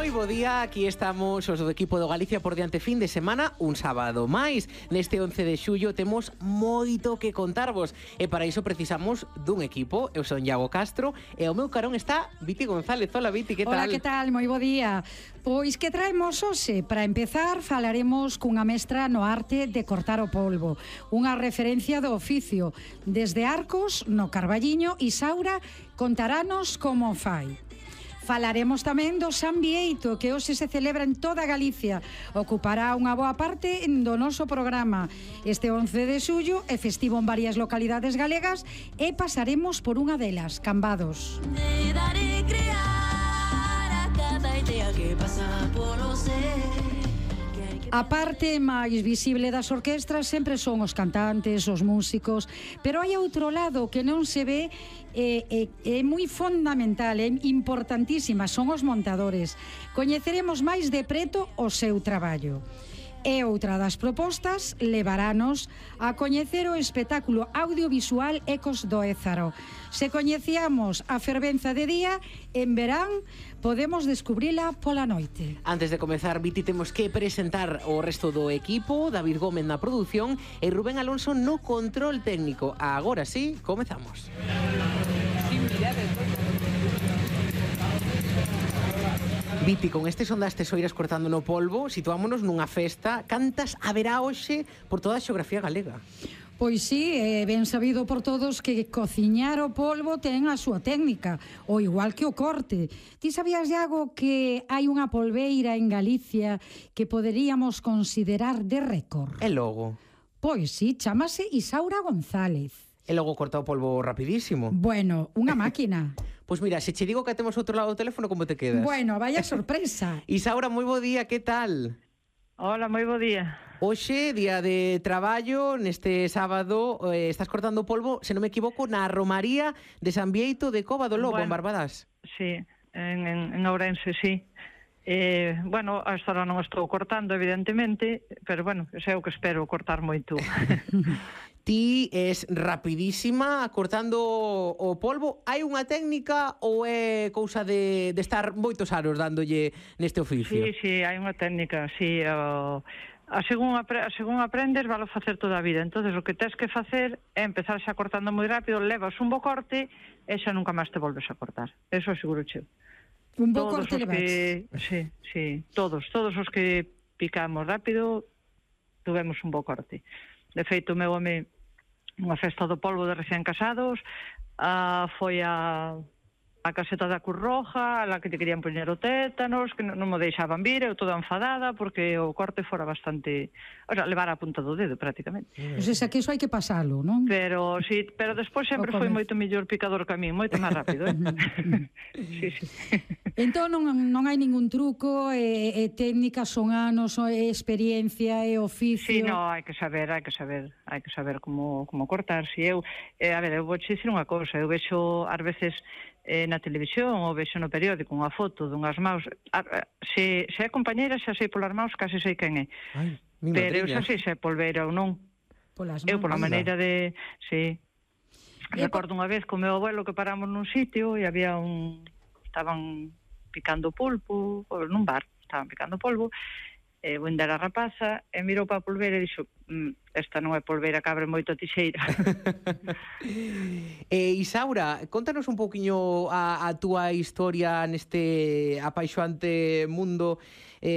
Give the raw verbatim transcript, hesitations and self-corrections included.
Moi bo día, aquí estamos os do equipo do Galicia por diante fin de semana, un sábado máis. Neste once de xullo temos moito que contarvos e para iso precisamos dun equipo. Eu son Iago Castro e ao meu carón está Viti González. Hola Viti, que tal? Hola, que tal? Moi bo día. Pois que traemos hoxe? Para empezar, falaremos cunha mestra no arte de cortar o polvo, unha referencia do oficio. Desde Arcos, no Carballiño, Isaura contaranos como fai. Falaremos tamén do San Bieito, que hoxe se celebra en toda Galicia. Ocupará unha boa parte do noso programa. Este once de xullo é festivo en varias localidades galegas e pasaremos por unha delas, Cambados. Te daré crear a cada idea que pasa polo ser. A parte máis visible das orquestras sempre son os cantantes, os músicos, pero hai outro lado que non se ve e é, é, é moi fundamental, é importantísima, son os montadores. Coñeceremos máis de preto o seu traballo. E outra das propostas levarános a coñecer o espectáculo audiovisual Ecos do Ézaro. Se coñecíamos a fervenza de día, en verán podemos descubrila pola noite. Antes de comezar, Viti, temos que presentar o resto do equipo, David Gómez na produción e Rubén Alonso no control técnico. Agora sí, comezamos. Viti, con este son das tesoiras cortando no polvo, situámonos nunha festa. Cantas haberá hoxe por toda a xeografía galega? Pois sí, é ben sabido por todos que cociñar o polvo ten a súa técnica, o igual que o corte. Ti sabías, Iago, que hai unha polveira en Galicia que poderíamos considerar de récord? E logo? Pois sí, chamase Isaura González. E logo corta o polvo rapidísimo. Bueno, unha máquina. Pois mira, se che digo que temos outro lado do teléfono, como te quedas? Bueno, vaya sorpresa. Isaura, moi bo día, que tal? Hola, moi bo día. Hoxe, día de traballo, neste sábado, eh, estás cortando polvo, se non me equivoco, na Romaría de San Bieito de Cova do Lobo, Bueno, en Barbadas. Sí, en, en, en Ourense, sí. Eh, bueno, hasta ahora non estou cortando, evidentemente, pero bueno, sei o que espero cortar moito. Ti es rapidísima cortando o polvo. Hai unha técnica ou é cousa de, de estar moitos anos dándolle neste oficio? Sí, sí, hai unha técnica, sí. O, a, según, apre, a según aprendes, valo facer toda a vida. Entonces, o que tens que facer é empezar xa cortando moi rápido, levas un bo corte e xa nunca máis te volves a cortar. Eso seguro cheo. Un bo Todos corte os que, sí, sí, todos, todos os que picamos rápido tuvemos un bo corte. De feito, o meu home, unha festa do polvo de recién casados, uh, foi a, a caseta da Cruz Roja, a la que te querían poñer o tétanos, que non, non me deixaban vir, eu toda enfadada, porque o corte fora bastante... O sea, levar a punta do dedo, prácticamente. Pois esa que iso hai que pasalo, non? Pero, sí, pero despois sempre foi moito mellor picador que a mí, moito máis rápido, eh? Sí, sí. Entón non, non hai ningún truco, e, e técnicas son anos, é experiencia, é oficio... Sí, no, hai que saber, hai que saber, hai que saber como, como cortar. Si eu, eh, a ver, eu vou te dicir unha cousa, eu vexo ás veces eh, na televisión ou vexo no periódico unha foto dunhas maus, a, a, se, se é compañeira xa sei polas maus, case sei quen é. Ai, pero eu xa sei se é polveira ou non. Polas Eu, pola Anda. maneira de... Sí. E Recordo unha vez co meu abuelo que paramos nun sitio e había un... Estaban picando pulpo, ou nun bar, estaban picando polvo, e o a rapaza, e mirou para a polveira e dixo, mm, esta non é polveira, cabre moito a tixeira. E Isaura, contanos un pouquiño a, a túa historia neste apaixoante mundo. Eh,